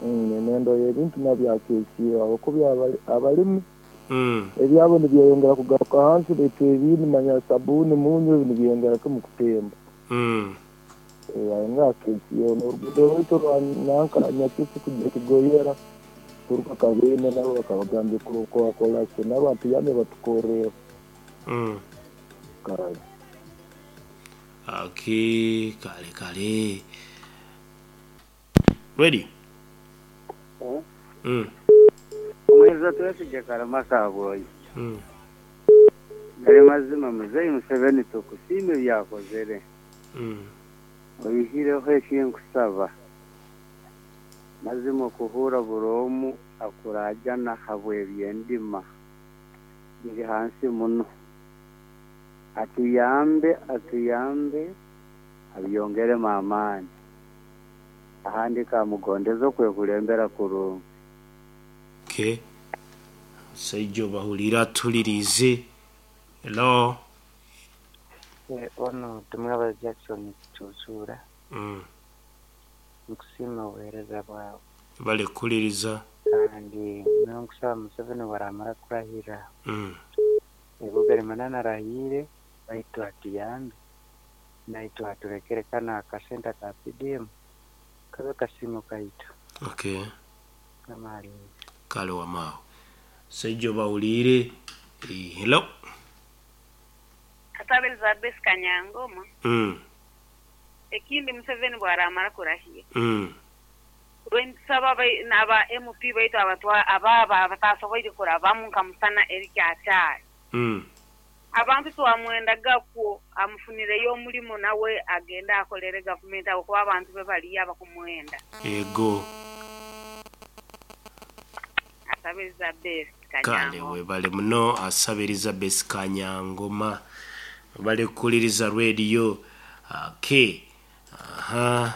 Emihendo y'ebintu nabyo akeesiireho habwokuba abalimi ebyabo nibyeyongera kugaruka hansi, baitu ebindi manya sabuuni, munyu ebi nibyeyongera kimu kutemba. Ayongera akeesiireho n'oruguudo rwaitu rwa nanka Nyakisi kugya Kigoyera kuruga Kabende nabo bakabagambye kurukora so nabo batuyambe batukorreho. Kale. Okay, kale kale. Ready? Omweza Twesigye Karamasa Habwoyo. Gali mazima Muzeeyi Museveni tukusiima ebi akozere. Oihireho eki nkusaba, mazima okuhuura buri omu akuraajana habw'ebyendima biri hansi muno. Atuyambe, atuyambe, abyongeremu amaani. Ahandi kamugondeze okwekulembera kurungi. Okay. Omusaija obahuliire atuliriize. Hello. Ono Tumwebaze Jackson Kicucuura. Nkusiima obuheereza bwawe. Webale kuhuliriza. Kandi nyowe nkusaba Museveni obwaramara kurahira, ego gali arahiire baitu atuyambe naitwe atulekere kanu akasente aka PDM kabe kasiimo kaitu. Okay. Mukama alinde. Kale wamaawo. Omusaija obahuliire. Hello. Kataabe Elizabeth Kanyangoma. Ekindi Museveni bwaramara kurahira, nitusaba aba MP baitu abaaba abatasoboire kurabamu nka Musana Eric akyali. Abantu twamwendagakwo amufunireyo omulimo nawe agende akolere gavumenti ahabw'okuba abantu be baliyo abakumwenda. Ego. Asaba Elizabeth Kale Kanyangoma. webale muno Asaba Elizabeth Kanyangoma. Webale kukuliriza radio. Okay. Aha.